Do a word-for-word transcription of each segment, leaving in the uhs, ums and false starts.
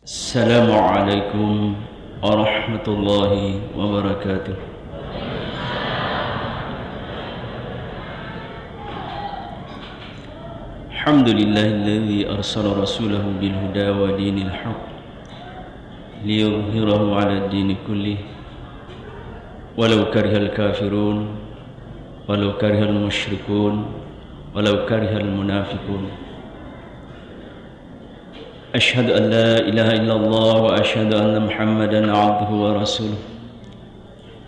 السلام عليكم ورحمة الله وبركاته. الحمد لله الذي أرسل رسوله بالهدى ودين الحق ليظهره على الدين كله ولو كره الكافرون ولو كره المشركون ولو كره المنافقون. أشهد أن لا إله إلا الله وأشهد أن محمدا عبده ورسوله.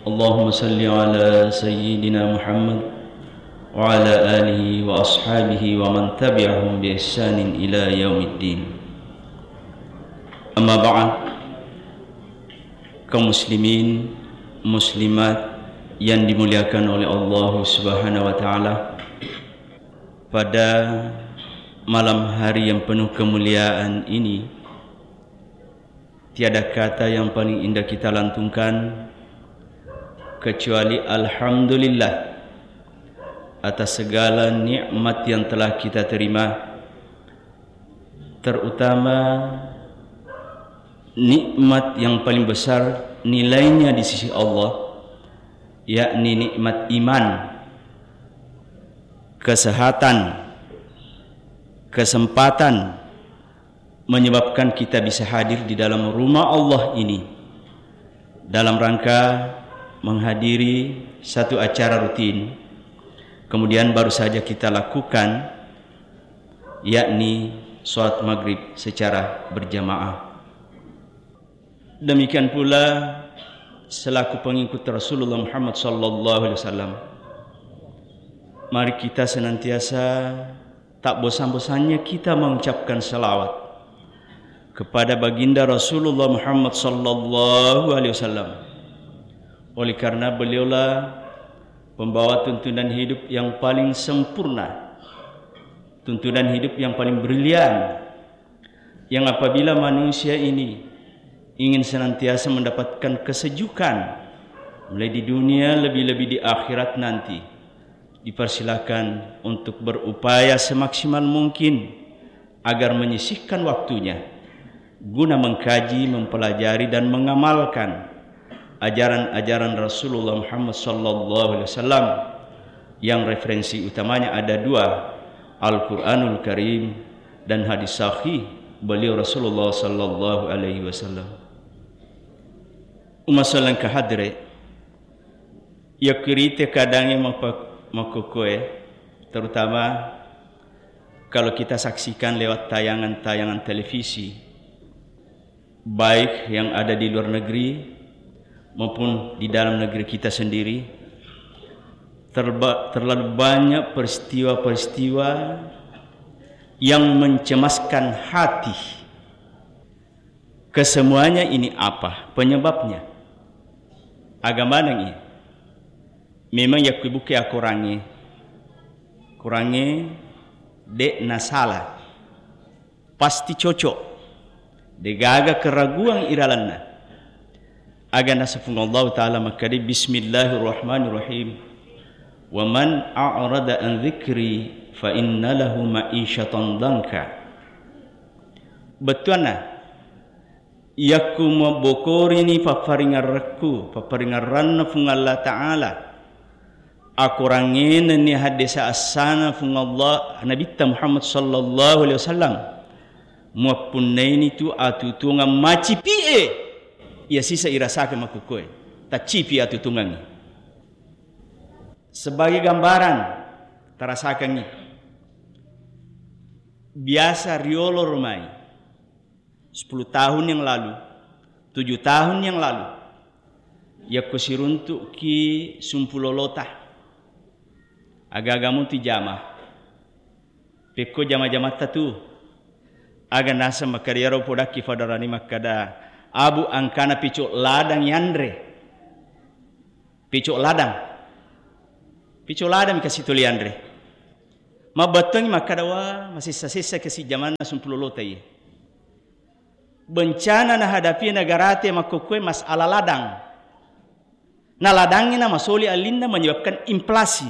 اللهم صل على سيدنا محمد وعلى آله وأصحابه ومن تبعهم بإحسان إلى يوم الدين. أما بعد، kaum muslimin, muslimat yang dimuliakan oleh Allah Subhanahu wa Ta'ala, pada malam hari yang penuh kemuliaan ini, tiada kata yang paling indah kita lantunkan kecuali alhamdulillah atas segala nikmat yang telah kita terima, terutama nikmat yang paling besar nilainya di sisi Allah, yakni nikmat iman, kesehatan, kesempatan menyebabkan kita bisa hadir di dalam rumah Allah ini dalam rangka menghadiri satu acara rutin. Kemudian baru saja kita lakukan, yakni sholat maghrib secara berjamaah. Demikian pula selaku pengikut Rasulullah Muhammad sallallahu alaihi wasallam, mari kita senantiasa tak bosan-bosannya kita mengucapkan salawat kepada baginda Rasulullah Muhammad sallallahu alaihi wasallam. Oleh karena beliaulah pembawa tuntunan hidup yang paling sempurna, tuntunan hidup yang paling brilian, yang apabila manusia ini ingin senantiasa mendapatkan kesejukan, mulai di dunia, lebih-lebih di akhirat nanti, dipersilakan untuk berupaya semaksimal mungkin agar menyisihkan waktunya guna mengkaji, mempelajari, dan mengamalkan ajaran-ajaran Rasulullah Muhammad sallallahu alaihi wasallam, yang referensi utamanya ada dua, Al-Quranul Karim dan hadis sahih beliau Rasulullah sallallahu alaihi wasallam. Umma sallang kahadre, yakirite keadaannya mapa-, makokoe, terutama kalau kita saksikan lewat tayangan-tayangan televisi, baik yang ada di luar negeri maupun di dalam negeri kita sendiri, terba-, terlalu banyak peristiwa-peristiwa yang mencemaskan hati. Kesemuanya ini apa penyebabnya? Aga maneng iya. Memang yakku ibuke akorangnge, korangnge de' nasala. Pasti cocok. Degaga keraguan iralanna. Aga nasa Puang Allahu Ta'ala makkeda, "Bismillahirrahmanirrahim. Wa man a'rada an dzikri fa inna lahu ma'isyatan dhanka." Bettuanna, yakku mabbokorini papparingerrekku, papparingerranna Puang Allah Ta'ala, akorangnge nennia haddesa assana Puang Allah, Nabitta Muhammad sallallahu alaihi wasallam, muappunnaini tu atutuwangeng macipi'e, iya sisa irasakang makkukkoe, taccipi atutuwangengngi. Sebagai gambaran, tarasakengngi. Biasa riolo romai, sepuluh tahun yang lalu, tujuh tahun yang lalu, yakko siruntu'ki sumpulolota, aga-aga mutu jama. Pekko jama-jamatta tu, aga naseng makkeda iyaro podakki fadarani makkeda, "Abu, engkana picok ladang yanre." Picok ladang. Picok ladang kasi tuli yanre. Mabbattuangngi makkeda, "Wa, masessa-sessa kasi jamanna sumpulolota iye." Bencana nahadapi negarate makkukkoe masalah ladang. Na ladangnge namasoli allinna menyebabkan inflasi.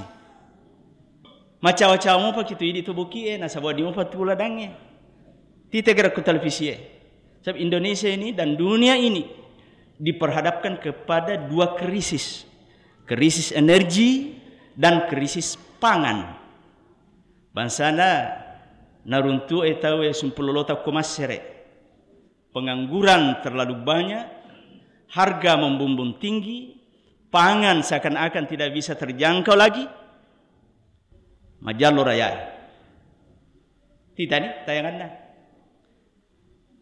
Macawa-cawa mopa kitu idi tu bokie, nasaba wedding mopa tu ladangnge. Tite gere ku televisie. Sebab Indonesia ini dan dunia ini diperhadapkan kepada dua krisis. Krisis energi dan krisis pangan. Bangsana naruntu'e tauwe sumpulolota ko massere. Pengangguran terlalu banyak, harga membumbung tinggi, pangan seakan-akan tidak bisa terjangkau lagi. Majallo rayae. Titani tayanganna.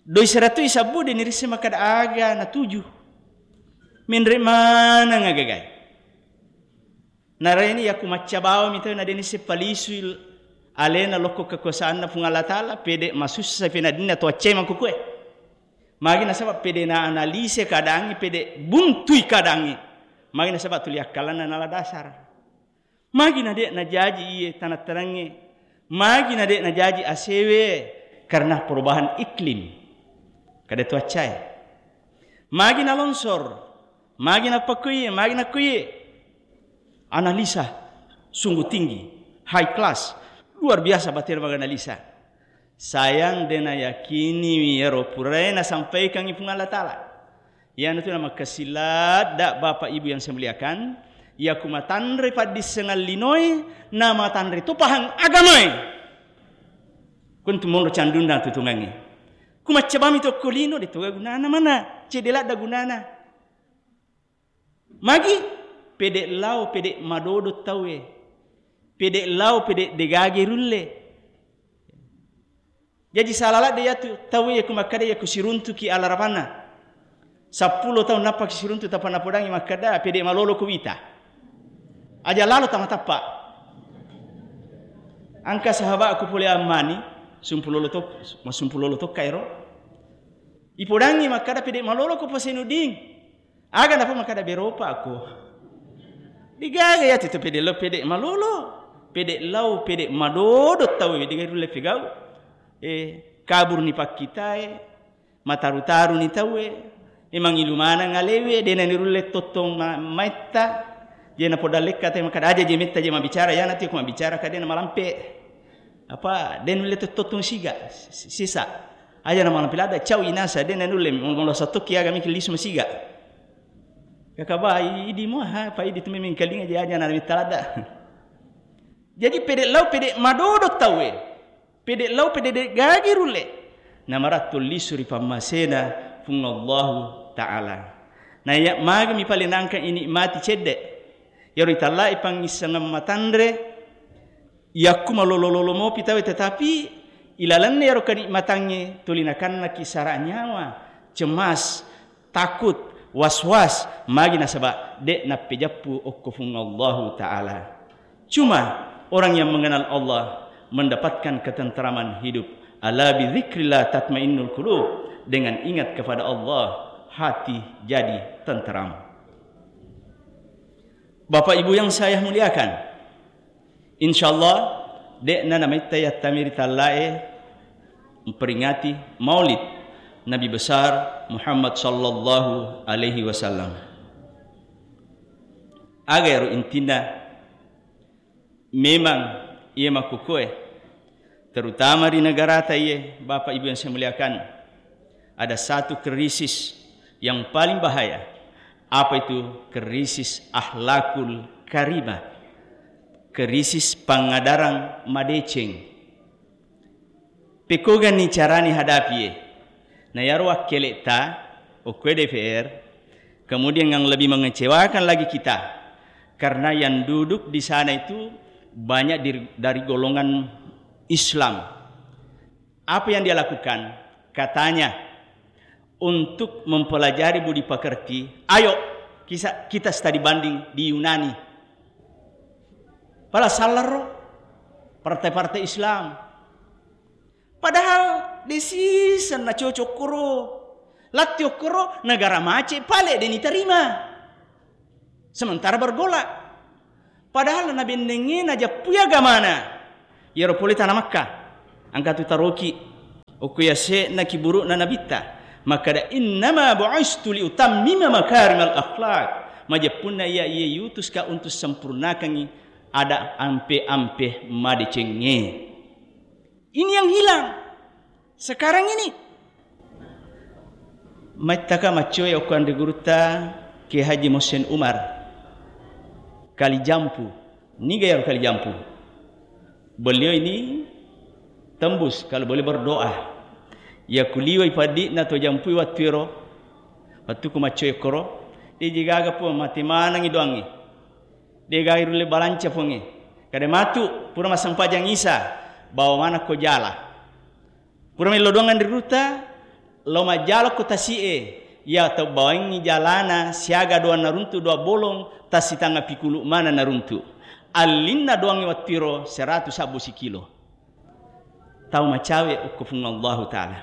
Doi seratu isabbu de nirisse makkada aga natuju. Menre maneng agagai. Naraini yaku macca bawami tau na de nisse palisui alena lokko kekuasaanna Puang Allah Ta'ala, pede masussa penadinna to accai makkukue. Magi nasaba pede na analise keadaangnge, pede buntui keadaangnge. Magi nasaba tuli akkalanna nala dasar. Magi na de najaji iye tanang-tanangnge. Magi na de najaji asewe karena perubahan iklim. Kada to accai. Magi na longsor. Magi na pakkuye, magi na kuye. Analisa sungguh tinggi, high class, luar biasa batena maganalisa. Sayang de nayakiniwi iyaro purae nasampaikangngi Puang Allah Ta'ala. Iyanatu namakkasiladda Bapak Ibu yang saya muliakan, iya ku matanre paddissengan linoe, namatanre to pahang agamae. Kuntu monro candunna tutungangnge. Ku maccabami tokko lino, de toga gunana mana, cedde ladda gunana. Magi? Pede lao, pede madodo tauwe. Pede lao, pede degage rulle. Jaji sala ladde yatu tauwe yaku makkada yaku siruntuki alarapanna. Seppulo taung nappaki siruntu tappa napodangi makkada pede malolo ko wita. Aja lalo tama tappa. Angka sahabatku pole ammani, sumpulolo tok-, masumpulolo tokka ero. Ipodangi makkada pede malolo ko Pak Zainuddin. Aga napa makkada beropa ko. Digaga yatu tu pede lao pede malolo. Pede lao pede madodo tauwe digaga rulle pegau. Eh, kabur ni pakkitae, mataru-taru ni tauwe. Memang ilu maneng alewe, dena ni rulle tottong ma-, maetta. Je na podallekka te makkada aja je metta je mabicara, yana tu ko mabicara kadena malampe. Apa, dena nulle tottong siga, si-, sisa. Aja na malampe lada, cau inasa, dena nulle, mula satokki aga miki lisu masiga. Kaka ba, i-, idi mo, ha, pa idi tu memeng kalinga je aja na metta lada. Jadi pede lao, pede madodo tauwe. Pede lao, pede de gagi rulle. Namarattu lisu ri pammasena Puang Allahu Ta'ala. Na iya magami pale nangka inikmati cedde. Yaro itallai pangissengeng matanre, yakku malolo-lolo mopi tawe, tetapi ilalenna yaro kenikmatangnge tuli nakannaki sara nyawa, cemas, takut, was-was, magi nasaba de nappejeppu okko Puang Allahu Ta'ala. Cuma orang yang mengenal Allah mendapatkan ketentraman hidup. Ala bi dzikrillah tatmainnul qulub. Dengan ingat kepada Allah, hati jadi tenteram. Bapak Ibu yang saya muliakan, insyaallah, de'na namaitta yattami ri tallae memperingati Maulid Nabi Besar Muhammad sallallahu alaihi wasallam. Aga ero intinna? Memang iya makkukue, terutama ri negarata iye, Bapak Ibu yang saya muliakan, ada satu krisis yang paling bahaya. Apa itu? Krisis akhlakul karimah, krisis pangadarang madeceng. Pekkoganni carani hadapie? Na iyaro wakkeletta, okkoe D P R, kemudian yang lebih mengecewakan lagi kita, karena yang duduk di sana itu banyak dir-, dari golongan Islam. Apa yang dia lakukan? Katanya, untuk mempelajari budi pekerti, ayo kisa-, kita studi banding di Yunani. Pala salaro partai-partai Islam. Padahal de siseng na cocok koro. Latti okkoro negara mace pale de niterima. Sementara bergolak. Padahal nabennengnge najappui agamana. Iyaro pole tana Makkah. Engka tu taroki. Okko yase'na kiburu'na nabitta. Makkada, "Innama bu'istu liutammima makarimal akhlak." Majeppunna iya, iya yutuska untuk sempurnakangi ada ampe-ampe madecengnge. Ini yang hilang. Sekarang ini, Maittaka maccoe okko anre gurutta Kiai Haji Mohsin Umar, Kali Jampu. Niga iyaro Kali Jampu? Beliau ini tembus kalau boleh berdoa. Iya kuliwai paddi'na to jampui wattu ero, wattu ku maccoe koro, deje gaga Puang, mate manengi doangnge. De gaga rulle balanca Puangnge. Kada matu, pura massempajang Isa, bawa mana ko jala. Pura mello doang anre gurutta, lao majjalo ko tasi'e, iya tau bawangngi jalana siaga doang naruntu dua bolong, tassitanga pikulu mana naruntu. Allinna doangnge wattu ero seratu sabbu sikilo. Tau macawe okko Puang Allahu Ta'ala.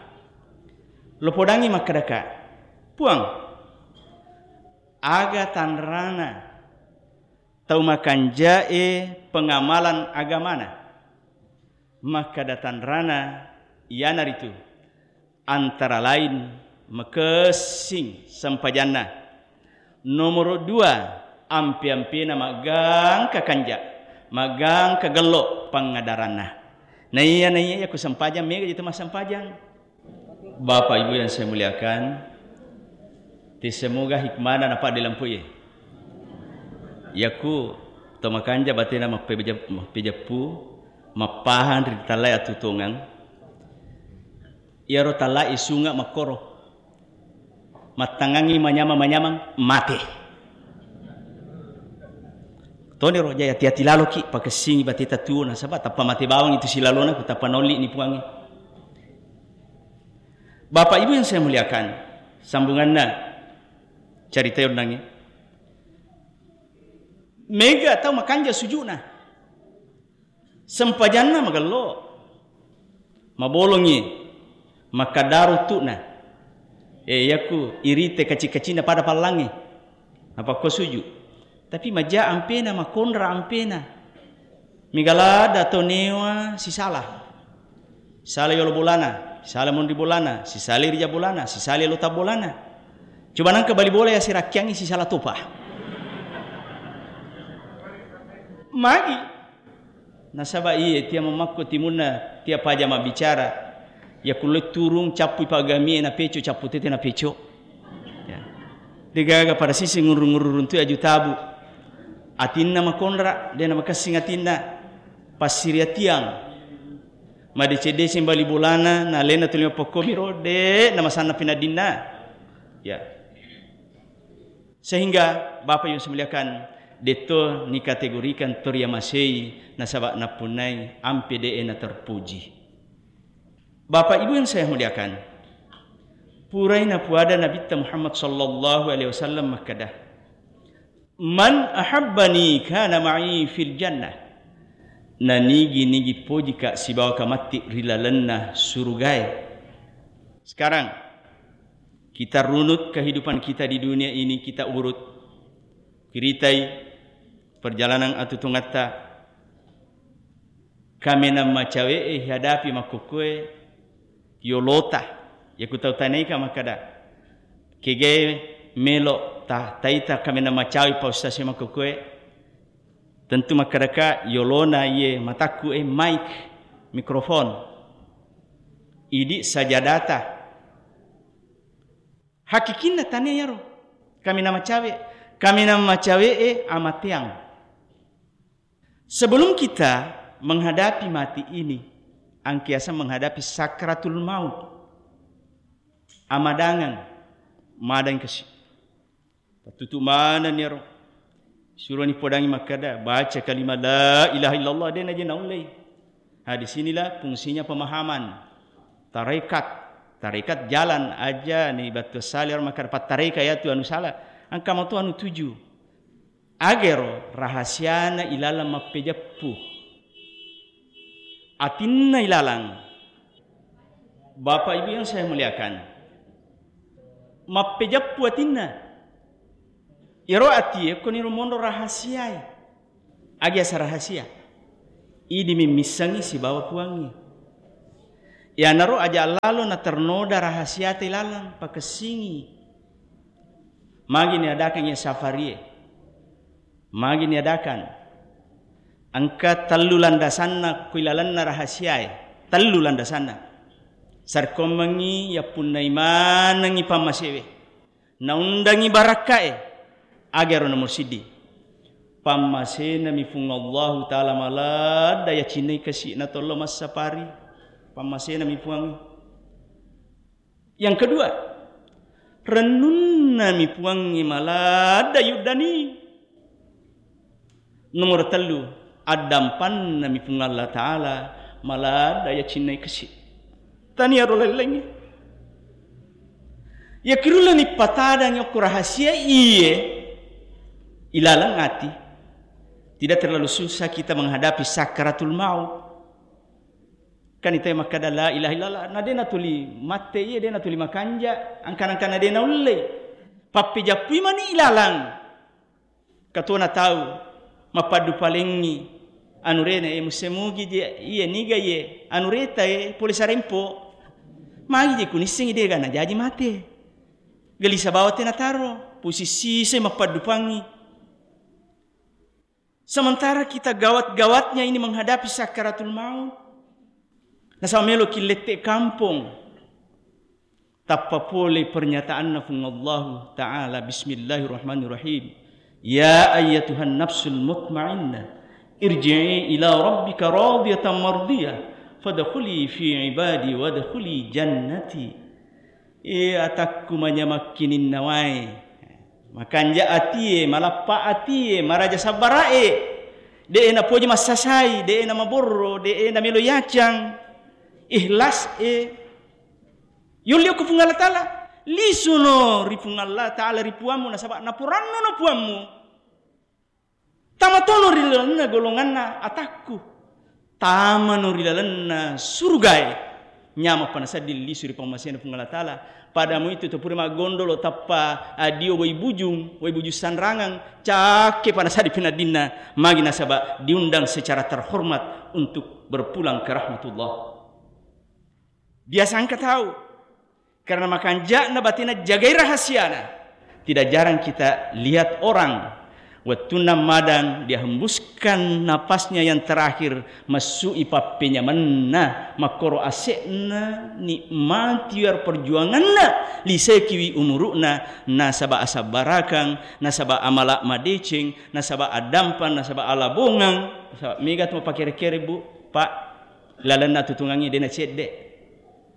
Lo podangngi makkadaka, Puang, aga tanrana tau makanjae pengamalan agamana? Makkada tanrana iyanaritu antara lain makessing sempajanna. Nomoro dua, ampe-ampena maggangka kanja, maggangka gello pangadaranna. Naiya, naiya, iya ku sempajang mega jatu massempajang. Bapak Ibu yang saya muliakan, te semoga hikmana napadde lampu ye. Yaku to makanja batena mappeja-, mappejeppu, mappahang ri tallai atutongang. Iyaro tallai sunga makkoro. Mattangangi manyamang-manyamang, mate. Toniro, jai hati-hati laloki, pakessingi bateta tuo, nasaba tappa mate bawang itu silalona, ku tappa naolli ni Puangnge. Bapak Ibu yang saya muliakan, sambunganna carita yonnangnge. Mega tau makanja sujuna. Sempajanna magello. Mabolongi, makkadaro tu'na. Eh, yaku irite kaci-kacina pada pallangnge. Napakko suju. Tapi maja ampena, makonra ampena. Mega ladda to newa sisala. Sala yolo bolana, sala monri bolana, sisala rija bolana, sisala lota bolana. Coba nangka bali bola ya sirakkiangi sisala topa. Magi. Nasaba iye, tia mamakko timunna, tia paja mabbicara. Ya kulle turung, cappui pagamie na peco, cappu tete na peco. Ya. Degaga pada sisi ngurru-ngurru runtu aju tabu. Atinna makonra, de na makessing atinna. Passiriatiang. Madeceng-deceng bali bolana, na alena tuli mappokkomi ro, de na masanna pinaddinna. Ya. Sehingga Bapak Ibu semuliakan, detto nikategorikan to riamasei nasaba nappunnai ampe de'e na terpuji. Bapak Ibu yang saya muliakan, purai napuada Nabitta Muhammad sallallahu alaihi wasallam makkada, "Man ahabbani kana ma'i fil jannah." Nanigi-nigi pojika sibawaka matti ri lalenna surugae. Sekarang, kita runut kehidupan kita di dunia ini, kita urut. Kiritai perjalanan atutungatta. Kamenang macawe'e hadapi makkukue yolota. Yaku tau tanaika makkada, kegae melo ta-, taita kamenang macawe pa ustaz e makkukue. Tentu makkadaka yolona iye matakku e mic, mikrofon. Idi sajadata. Hakikinna tania yaro. Kamenang macawe, kamenang macawe e amateang. Sebelum kita menghadapi mati ini, angkiasa menghadapi sakratul maut. Amadangang, madang kasi. Pattutu manenni ero. Suroni podangi makkada, baca kalimat la ilaha illallah, de naje naullei. Ha, di sinilah fungsinya pemahaman. Tarekat, tarekat jalan aja ni batu sali orang makkada pattareka ya tu anu salah. Angka matu anu tuju. Agero rahasiana ilalang mappejeppu. Atinna ilalang. Bapak Ibu yang saya muliakan, mappejeppu atinna. Iyaro atie koniro monro rahasiae. Agi asa rahasia? Idi mimmissengi sibawa Puangnge. Iyanaro aja lalo naternoda rahasiata ilalang, pakessingi. Magi niadakangngi safarie? Magi niadakan? Engka tellu landasanna ku ilalenna rahasiae. Tellu landasanna. Sarkommengngi yappunnai manengngi pammasewe. Naundangngi barakkae. Agaro nomor siddi. Pammasenami Puang Allahu Ta'ala maladda yacinnai kasi'na tollo massapari. Pammasenami Puang. Yang kedua, rennunnami Puangnge maladda yuddani. Nomor tellu, addampannami Puang Allah Ta'ala maladda yacinnai kesi. Tania ro lain-laingnge. Yakirullani patadangi okko rahasia iye ilaleng ati. Tidak terlalu susah kita menghadapi sakaratul maut. Kan ita makkada la ilaha illallah, na de natuli matte iye, de natuli makanja, angkan-angkan na de naullei. Pappejappui mani ilalang. Katona tau mappaddu palengngi anurena, e, musse mugi je, iye niga iye anureta, e, pole sarempo. Magi je kunissengi dega najaji mate. Gelisa bawa tena taro, posisi se mappaddupangngi. Sementara kita gawat-gawatnya ini menghadapi sakaratul maut. Nasaba melo ki lette kampong. Tappa pole pernyataanna Puang Allahu Ta'ala, Bismillahirrahmanirrahim. Ya ayyatuhan nafsul mutmainnah, irji'i ila rabbika radiyatan mardiyah, fadkhuli fi ibadi wadkhuli jannati. E atakku manyamakkininnawai, makanja atie, malappa atie, maraja sabbarae, de napoji massasai, de namaborro, de namelo yacang, ikhlas e. Yolli okko Puang Allah Ta'ala, lisuno ri Puang Allah Ta'ala ri puammu, nasaba naporannono puammu. Tamatono ri lalenna golonganna atakku. Tamano ri lalenna surugae. Nyamappa nasedding lisu ri pammasena Puang Allah Ta'ala. Pada mu itu topure maggondolo tappa adio wai bujung, wai bujung sanrangang, cakke pa nasedding penaddinna, magi nasaba diundang secara terhormat untuk berpulang ke rahmatullah. Biasa engka tau, karena makanja'na batena jagai rahasiana. Tidak jarang kita lihat orang, wettunna madang, dia hembuskan napasnya yang terakhir, massu'i pappenyamenna, makkoro ase'na, nikmati iyaro perjuanganna, lisekiwi umuru'na, nasaba asabbarakang, nasaba amala madeceng, nasaba addampang, nasaba alabongang, nasaba mega tu mapakere-kere, Bu, Pak. Lalenna tutungangnge de nacedde.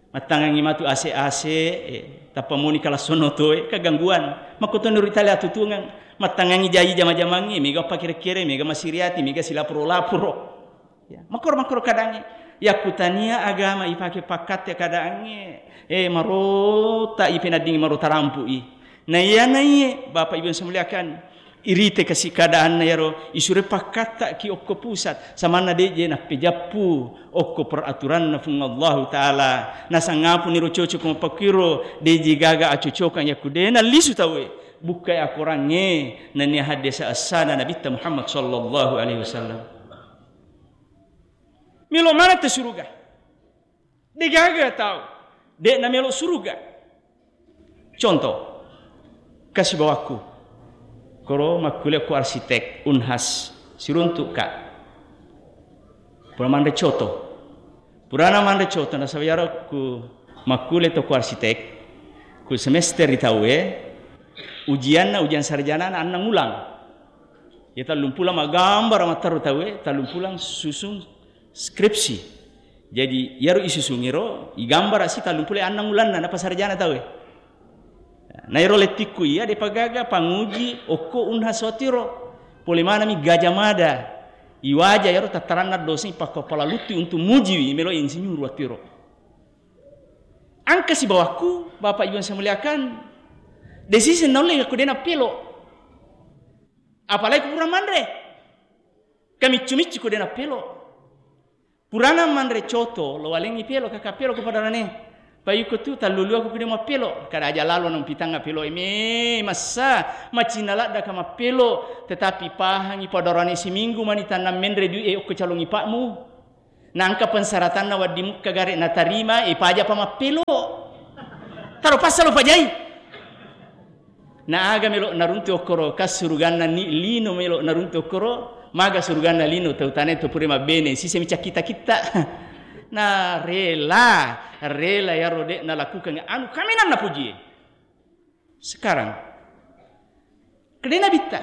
Mattangangngi matu ase-ase, eh, tappa moni kalassonno toe, kegangguan. Makkutonni ri tali atutungang, mattangangngi jaji jama-jamangnge, mega pakere-kere, mega masiriati, mega silaporo-laporo. Ya, makkoro-makkoro kadangnge. Yakkutania agama ipake pakkatte kadangnge, eh, marota ipenaddingi, marota rampu'i. Na iya naiye, Bapak Ibu yang saya muliakan, irite kasi keadaanna iyaro, isure pakkattaki okko pusat, samanna deje nappejappu okko peraturanna Puang Allahu Ta'ala. Nasangapuni ro cocok mapakkiro, deje gaga acocokang yakku de nallisu tauwe. Bukkai akorangnge, nania haddesa essana Nabitta Muhammad sallallahu alaihi wasallam. Melo maneng te suruga. Degaga tau, de namelo suruga. Contoh, kasibawakku, koro makkulia ko arsitek, Unhas, siruntuk ka. Pura manre coto. Purana manre coto, nasaba iyaro ku makkulia to ko arsitek, ku semester ri tauwe, ujianna, ujian sarjana annang ulang. Ya tallumpulang maggambara matteru tauwe, tallumpulang susung skripsi. Jadi, iyaro isusungiro, igambara si tallumpulo annang ulanna, napasarjana tauwe. Na ero lettikku iya, depa gaga panguji okko Unhas watiro. Pole manami Gajah Mada. Iwaja iyaro tattaranna dosengi pakko pala luttui untuk mujiwi melo insinyur watiro. Angka sibawakku, Bapak Ibu yang saya muliakan, desisi naulle ko dena pelo. Apalagi ko pura manre. Kamiccu-miccu ko dena pelo. Purana manre coto, lo walengngi pelo, kaka pelo ko padarane. Payuko tu talluluako ko de mappelo, kada aja lalo nang pitanga pelo e me massa, macinna ladda ka mappelo, tetapi pahangi padarane siminggu mani tannang menre dui e okko calongi pakmu. Nangka pensaratanna waddi mukka gare natarima, e paja pa mappelo. Taro passa lo pajai. Na aga melo naruntu okkoro, kas suruganna ni lino melo naruntu okkoro, maga suruganna lino tau tane to pure mabbene, sisemi cakkita-kitta. Na rela, rela iyaro de' nalakukan anu kaminang napojie. Sekarang, kede Nabitta,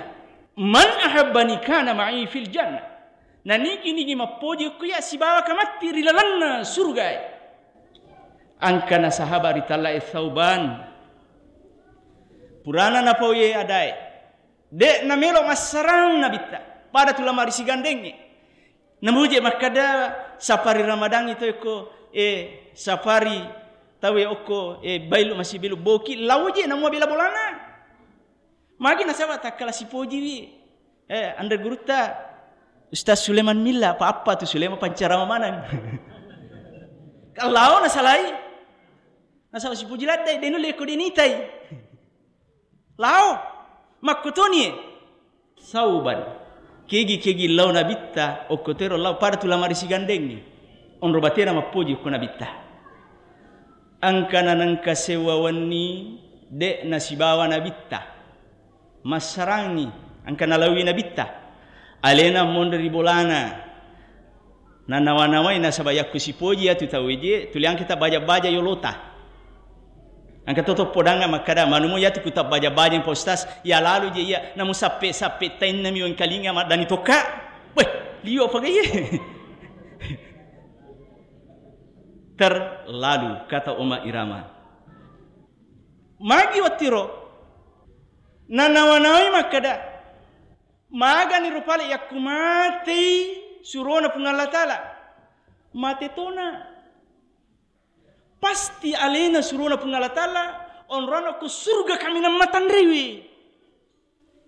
"Man ahabbani kana ma'i fil jannah." Na nigi-nigi mappoji okko iya sibawaka matti ri lalenna surugae. Angkana sahaba ritalla'e Sauban. Purana napaoye adae. De' namelo massarang Nabitta. Pada tu lamari sigandengnge. Namuje makkada safari Ramadangngi to okko, eh, safari tauwe okko, eh, bailu masih belu boki, lauje namua bela bolana. Magi nasaba takkala sipojiwi. Eh, anre gurutta Ustaz Sulaiman Milla, apa-apa tu Sulaiman pancarama maneng. Kalau nasalai, nasaba sipoji laddai, de' nulle ko de' nitai. Lao, makkutoni e. Sauban. Kegi-kegi lao Nabitta, okko tero lao pada tu lamari sigandengngi. Onro batena mappoji okko Nabitta. Angkana nengka sewwa wenni, de' nasibawa Nabitta. Massarangi, angkana laowi Nabitta. Alena monri ri bolana. Nanawa-nawai nasaba yakku sipoji iyatu tauwe je, tuli angka tabbaja-baja yolota. Angka toto podanga makkada, manumo iyatu ku tabbaja-baja Pak Ustaz, ya lalu je iya, namu sappe-sappe tainna mi wengkalinga maddani tokka. Weh, liwa pagaye. Terlalu, kata Oma Irama. Magi wattiro, nanawa-nawai makkada, Maganiro pale yakku matei surona Puang Allah Ta'ala. Mate tona. Pasti alena surona Puang Allah Ta'ala, onrona ko surga kaminang matanrewe.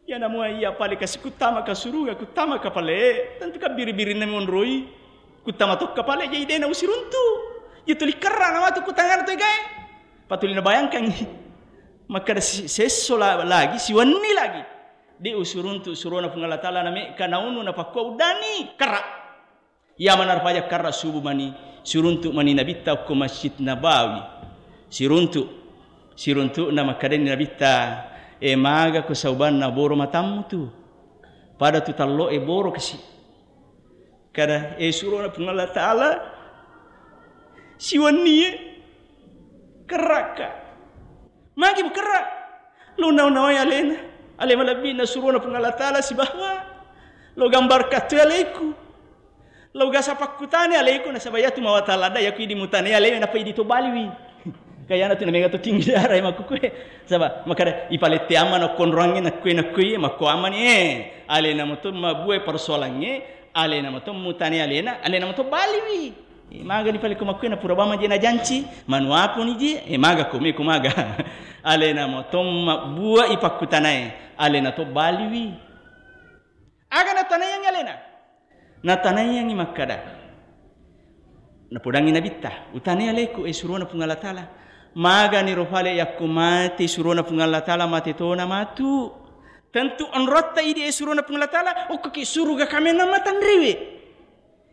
Iya namua iya pale kasi kuttama ka suruga, kuttama ka pale, tentu ka biri-birinna monroi. Kuttama tokka pale, jadi dena usiruntu. Iya tuli kerra na matu kutangana tu egae. Patuli nabayangkangngi. Makkada si-, sesso la-, lagi, siwenni lagi. De' usuruntu surona Puang Allah Ta'ala na mekka naunu napakkua uddani, kerra. Iya manarpaja kerra subuh mani, siruntu mani Nabitta okko Masjid Nabawi. Siruntu, siruntu na makkadani Nabitta, e maga ko saubanna boro matammu tu. Pada tu tallo e boro kasi. Kada, e surona Puang Allah Ta'ala, siwennie, kerrakka. Magi mukerra? Lo nau-nawai alena, ale malebbi na surona Puang Allah Ta'ala sibawa. Lo gambar kattu aleku. Lo gasa pakkutane aleku nasaba iyatu mawata ladda yaku idi mutane ale napa idi to baliwi. Kayana tu namega to tinggi dara e makkukue. Saba makada ipalette amma nakkonroangnge nakkue nakkue makko ammani e. Alena moto mabue persoalangnge, alena moto mutane alena, alena moto baliwi. E, maga ni pale ko makkue na pura bama je na janci, manuapuni je, e maga ko me ko maga. Alena moto mabbua i pakkutanae, alena to baliwi. Aga natanaiyangngi alena? Natanaiyangngi makkada. Napodangngi Nabitta, utanai aleku, e surona Puang Allah Ta'ala. Maganiro fale yakko mate surona Puang Allah Ta'ala mate tona matu. Tentu onrotta idi e surona Puang Allah Ta'ala, okkoki suruga kamenna matanriwe.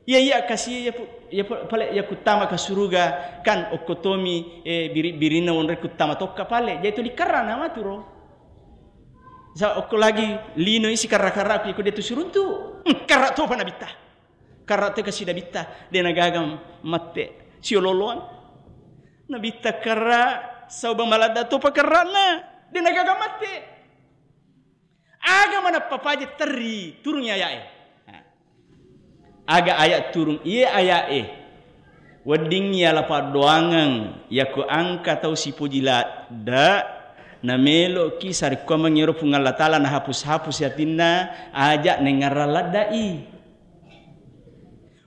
Iya, iya, kasi, iya, pu-, iya, pa-, pale, iya kuttama ka suruga, kan okko tomi, eh, biri-, birinna onroi kuttama tokka pale. Jadi tuli karrana maturo. Sa okko lagi lino isi karra-karraku, iko dia tu suruntu. Hmm, karra topa Nabitta. Karra to kasi Nabitta, de nagaga matte. Siololoang. Nabitta karra, sauba maladda topa karrana. De nagaga matte. Aga manappa paja terri turungi aya'e. Aga aya turung iye aya'e. Wedding yala paddoangeng yako angka tau sipoji ladda, nameloki sarekkuameng ero Puang Allah Ta'ala nahapus-hapus atinna aja nengngarang ladda'i.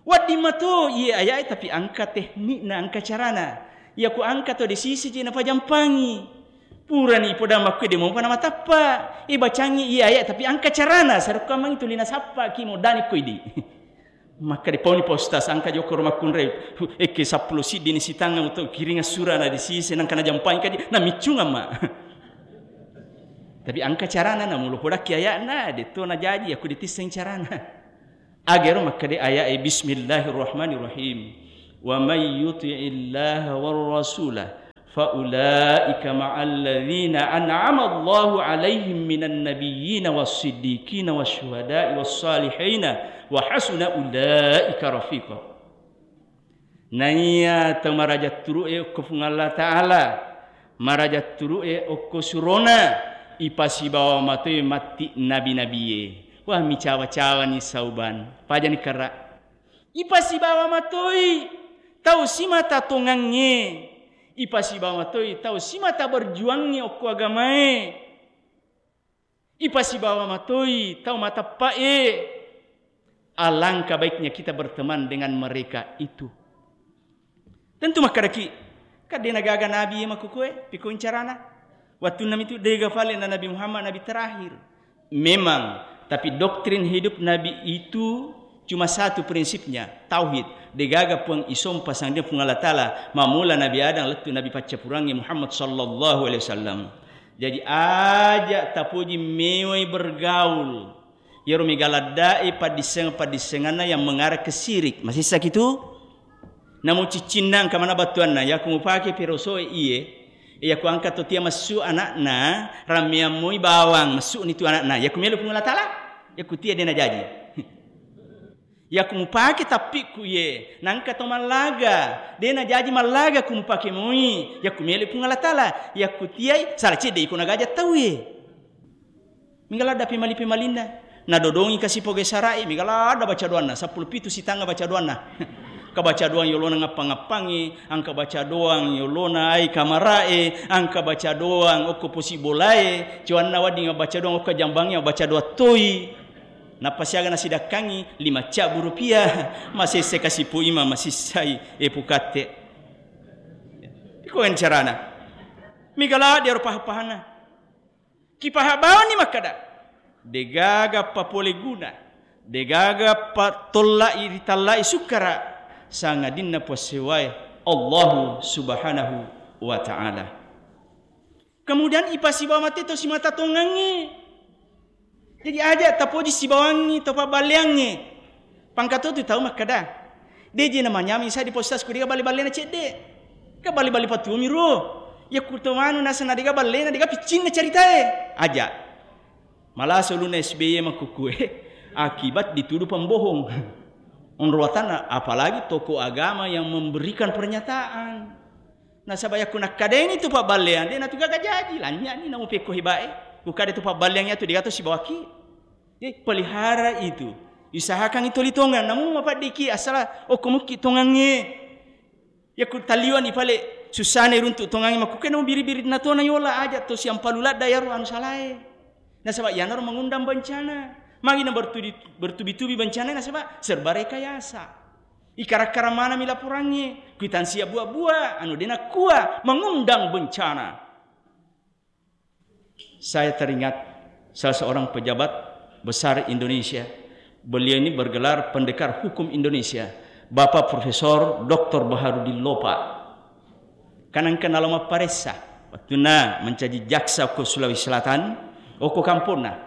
Wedding mato iye aya'e, tapi angka teknikna, angka carana. Yako angka to desisi je napajampangi. Purani ipodang makkue de mopa namatappa. Ibacangi iye aya'e, tapi angka carana, sarekkuameng tuli nasappaki modani ko idi. Makkeda pauni pa ustaz, angka jokoro makkunrai. Hu, ekke seppulo siddi ni sitanga uto kiring assurana desisi nangka najampangi kadi, namiccungang ma. Tapi angka carana, namulo podakki aya'na, detto najaji, aku ditisseng carana. Agero makkeda aya'e, Bismillahirrahmanirrahim. Wa may yuti'illaha war rasula fa ulaika ma'al ladzina an'ama Allahu 'alaihim minan nabiyyina was siddiqina was syuhada'i was salihina wa hasuna ulaika rafiqa. Naiya tau maraja turu'e okko Puang Allah Ta'ala, maraja turu'e okko surona, ipasibawa matoi matti nabi-nabie. Wah, micawa-cawani sauban. Pajani kara. Ipasibawa matoi tau simata tongangnge. Ipasibawa matoi tau simata berjuangnge okko agamae. Ipasibawa matoi tau mateppe'e. Alangkah baiknya kita berteman dengan mereka itu. Tentu makkedaki, "Kan de' nagaga nabi iya makkukue, piko carana?" Wattunna mitu dega fale na Nabi Muhammad nabi terakhir. Memang, tapi doktrin hidup nabi itu cuma satu prinsipnya, tauhid. Degaga Puang isompa sangdina Puang Allah Ta'ala, mamula Nabi Adam lettu Nabi paccapurangnge Muhammad sallallahu alaihi wasallam. Jadi, aja tapoji mewai bergaul. Iyaro mega laddae paddisseng-paddissenganna yang mengarah ke syirik. Masessaki tu? Namu ciccinna engka mana battuanna, yakku mupake perosoe iye, yakku angka to tia messu anakna, rammeang moi bawang, messu ni tu anakna. Yakku melo Puang Allah Ta'ala, yakku tia de' najaji. Yakku mupake tappikku iye, nangka to mallaga, de' najaji mallaga ku mupake moi, yakku melo Puang Allah Ta'ala, yakku tiai sala cedde iko nagaja tauwe. Mega ladda pemali-pemalinna. Nadodongi kasi poge sara'i, mega ladda baca doanna, seppulo pitu sitangnga baca doanna. Ka baca doang yolona ngappa-ngappangi, angka baca doang yolona ai kamara'e, angka baca doang okko posi bolae, cuanna wedding baca doang okko jambangnge, baca doang toi. Nappa siaga nasidakkangi lima cabbu rupiah, masesse kasi pu ima masissai e pukatte. Iko carana. Mega ladde ro paha-pahanna. Kipaha bawani makkada, degaga papole guna, degaga patollai ritallai sukkara, sangadinna puassewae Allahu Subhanahu wa Ta'ala. Kemudian ipasibawa mate to simata tongangnge. Jadi aja tapoji sibawangngi to pabballeangnge. Pangkatotu tau makkada, "De' je namanyameng sa di postas ku dega balle-ballena cedde. Ka balle-balle patuomi ro. Yakku to manu naseng na dega ballena, dega piccinna caritae." Aja. Malasa ulunna S B Y makkukue akibat dituduh pembohong. Onro watanna, apalagi tokoh agama yang memberikan pernyataan. Nasaba yakku nakkadeni tu pabballeang, de' natu gaga jaji, lanynyani namu pekko hebae. Ku kada tu pabballeang yatu dega to sibawaki. Jadi pelihara itu. Usahakan itu toli tongang, namu mapaddiki asala okko mukki tongangnge. Yakku taliwani pale sussana runtu tongangnge makkuke namu biri-biri natona yola aja to siampalu ladda yaro anu salae. Nasaba yanaro mengundang bencana. Magi na bertubi-, bertubi-tubi bencana nasaba serba rekayasa. Ikara-kara manami laporangnge, kuitansi abbua-bua, anu de' nakkua, mengundang bencana. Saya teringat salah seorang pejabat besar Indonesia. Beliau ini bergelar Pendekar Hukum Indonesia, Bapak Profesor Doktor Baharudin Lopa. Kan engka nalo mapparessa, wettunna mencaji jaksa ko Sulawesi Selatan, okko kamponna.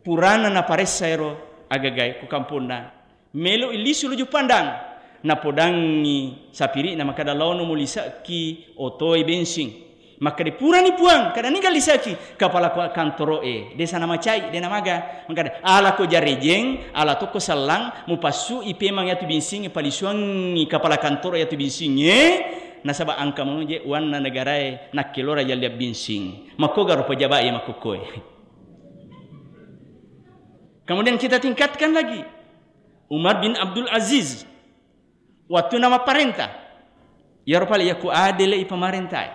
Purana naparessa ero agagae ko kamponna, melo lisu luju pandang. Napodangngi sapiri'na makkada, "Laono mulisa'ki otoe bensing." Makkada, "Purani Puang, kada niga lisa'ki?" Kapala ko-, kantoro'e, desa namacai, de' namaga. Makkada, "Ala ko jarejeng, ala tokko sellang, mupassu'i pemang yatu binsingnge, palisuangngi kapala kantoro yatu binsingnge, nasaba engka mangoje uanna negarae, nakkelora yalliang binsing." Makkogaro pejabat e makkukkoe. Kemudian kita tingkatkan lagi. Umar bin Abdul Aziz, wattunna mapparenta, iyaro pale yakku adele'i pamarentae,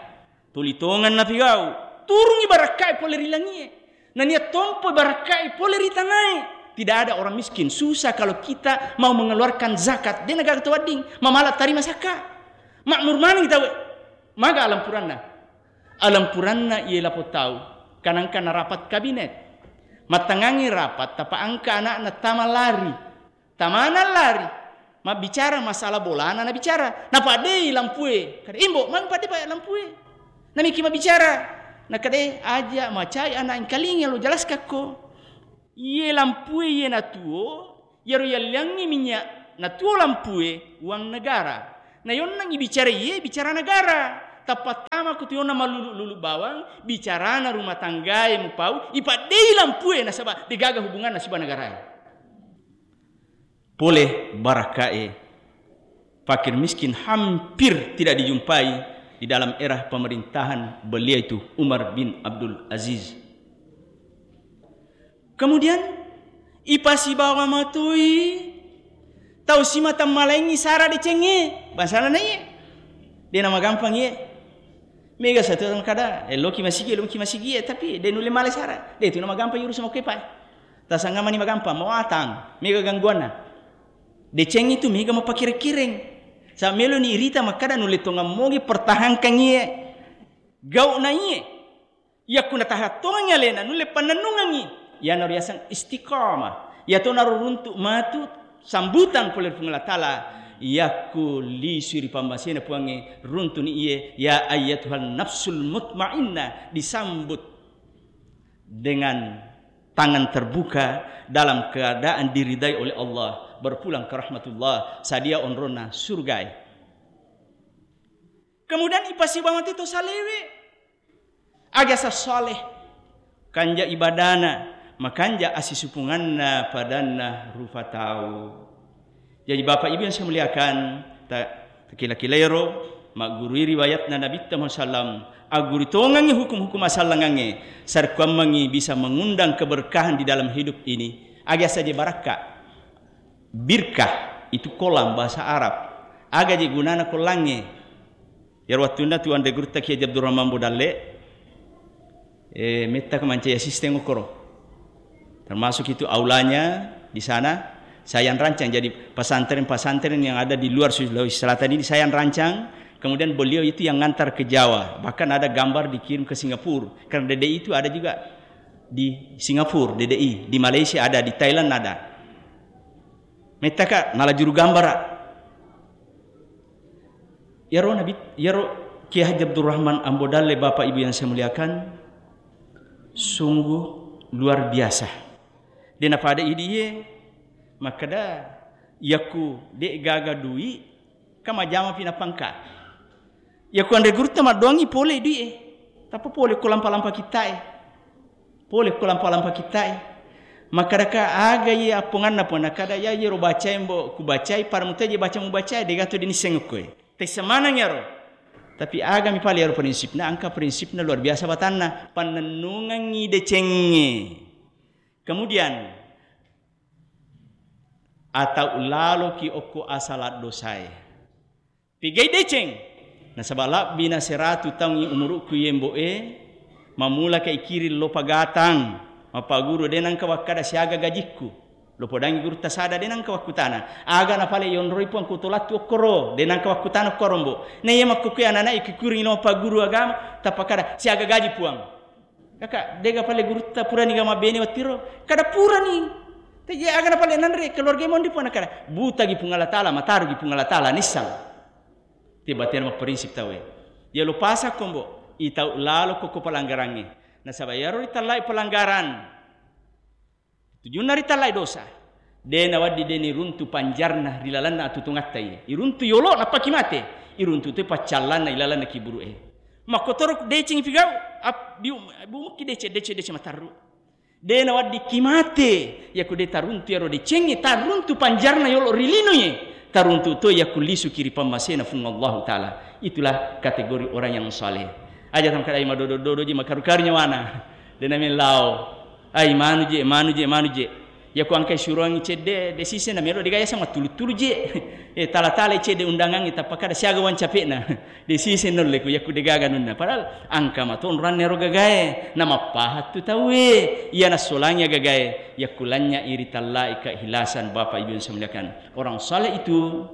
tuli tongeng napigau, turungi barakkae pole ri langie, nania tompo barakkae pole ri tanae. Tidak ada orang miskin, susah kalau kita mau mengeluarkan zakat. De' nagaga to wedding, mamala tarima sakka. Makmur maneng tau. Maga alampuranna? Alampuranna iye lapong tau, kanangka narapat kabinet. Mattangangi rapat, tapa engka anakna tama lari. Tamana lari, mabbicara masalah bolana nabicara. Napaddei lampue. Kada, "Imbo, magi paddei pa lampue?" Namiki mabbicara. Nakadai, "Aja macai anak engkalinga lo jalaskakko. Iye lampue iye natuo, iyaro yalliangngi minyak natuo lampue, uang negara. Nayonnangngi bicara iye, bicara negara. Tappa tama ko tuyonna mallulu-lulu bawang, bicarana rumah tanggae mupau, ipaddei lampue nasaba degaga hubunganna siba negarae." Pole barakkae. fakir miskin hampir tidak dijumpai di dalam era pemerintahan beliau itu, Umar bin Abdul Aziz. Kemudian, ipasibawa matoi tau simata malaingi sara decengnge, bangsana na iye. De namagampang iye. Mega satu kada, eh, loki masigi, loki masigi, eh, tapi de nulle male sara. De tu namagampang yurus makepa. Tasangamani magampang, mawatang, mega gangguanna. Deceng itu mega mapakireng-kireng. Sa melo ni irita makkada nulle tongang mogi pertahankan iye. Gau na iye. Yakku natahattongengngi alena, nulle pannennungengngi. Iyana riaseng istiqamah. Iyatonaro runtu matu sambutan pole ri Puang Allah Ta'ala. Yakku lisui ri pammasena Puangnge, runtuni iye, ya ayyatuhan nafsul mutmainnah, disambut dengan tangan terbuka dalam keadaan diridai oleh Allah, berpulang ke rahmatullah, sadia onronna surgae. Kemudian ipasibawa matu to salewe. Aga sa saleh, kanja ibadana, makanja asisupunganna padanna rupa tau. Jadi Bapak Ibu yang saya muliakan, ta-, takila-kilairo, maggurui riwayatna Nabitta Muhammad sallam, agguru tongengngi hukum-hukum asallangangnge, sarekkuammengngi bisa mengundang keberkahan di dalam hidup ini. Aga saja barakka, birkah, itu kolam bahasa Arab. Aga je gunana kolangnge? Iyaro wettunna tu anre gurutta Kiai Haji Abdurrahman Bodalle, eh, metta ko mancai asisten okkoro. Termasuk itu aulanya di sana, saya yang rancang. Jadi pesantren-pesantren yang ada di luar Sulawesi Selatan ini saya yang rancang. Kemudian beliau itu yang ngantar ke Jawa. Bahkan ada gambar dikirim ke Singapura. Karena D D I itu ada juga di Singapura, D D I. Di Malaysia ada, di Thailand ada. Mettaka nalajuru gambara. Iyaro Nabi, iyaro Kiai Haji Abdurrahman Ambo Dalle, Bapak Ibu yang saya muliakan, sungguh luar biasa. De napada idiye makkeda, yakku de gaga dui, ka majjama pi napangka. Yakku anre gurutta maddoangngi pole dui'e. Tappa pole ko lampa-lampa kitta'e. Pole ko lampa-lampa kitta'e. Makkedaka aga iye apponganna, Puang? Nakkeda, ya iyero bacae, Mbo, kubacai, pada muteje baca mubacai, degato dinisseng okkoe. Tessa maneng iyaro. Tapi agami pale iyaro prinsipna, engka prinsipna luar biasa batanna. Pannennungengngi decengnge. Kemudian, atau laloki okko asala dosae. Pegai deceng. Nasaba labbina seratu taungngi umuru'ku iye, Mbo'e, mammulaka ikiring lo pagatang, mappaguru, de nengka wakkada siaga gajikku. Lo podangngi gurutta sada, de nengka wakkutana. Aga napale yonroi Puang ku tolattu okkoro, de nengka wakkutana okkoro, Mbo. Na iya makkukue anana ikikiring lo mappaguru agama, tappa kada siaga gaji Puang. Kaka, dega pale gurutta purani ga mabbene wattiro? Kada purani. Teje aga napale nanre keluarga monri Puang, nakada, butagi Puang Allah Ta'ala, matarugi Puang Allah Ta'ala, nissang. Te batena mapprinsip tauwe. Iya lo pasakko, Mbo, itau lalo ko, ko pelanggarangnge. Nasaba iyaro ritallai pelanggaran. Tujunna ritallai dosa. De nawedding de niruntu panjarna ri lalenna atutungatta iye. Iruntu yolo nappaki mate. Iruntu toi paccallanna ilalenna kiburu'e. Makkotoro deceng pigau, ap-, biu-, bumukki deceng, deceng, deceng matarru. De naweddikki mate, yakku de taruntu iyaro decengnge, taruntu panjarna yolo ri linoe, taruntu toi yakku lisuki ri pammasena Puang Allahu Ta'ala. Itulah kategori orang yang saleh. Aja tamkadai madodo-dodo ji, makaru-karu nyawana. De namellau. Ai, manu je, manu je, manu je. Yakku engkai suroangngi cedde, de siseng namelo, de gaga yaseng mattulu-tulu je. Eh, tala-talai cedde undangangnge, tappa kada siaga uang capekna. De siseng naulle ku yakku de gaga anunna. Padahal engka matonro anne ro gagae, namappahattu tauwe. Iya nassolangi gagae, yakku lanynyai ritallai keikhlasan, Bapak Ibu yang saya muliakan. Orang saleh itu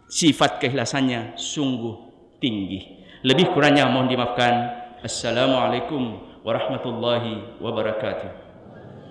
sifat keikhlasannya sungguh tinggi. Lebih kurangnya mohon dimaafkan. Assalamualaikum warahmatullahi wabarakatuh.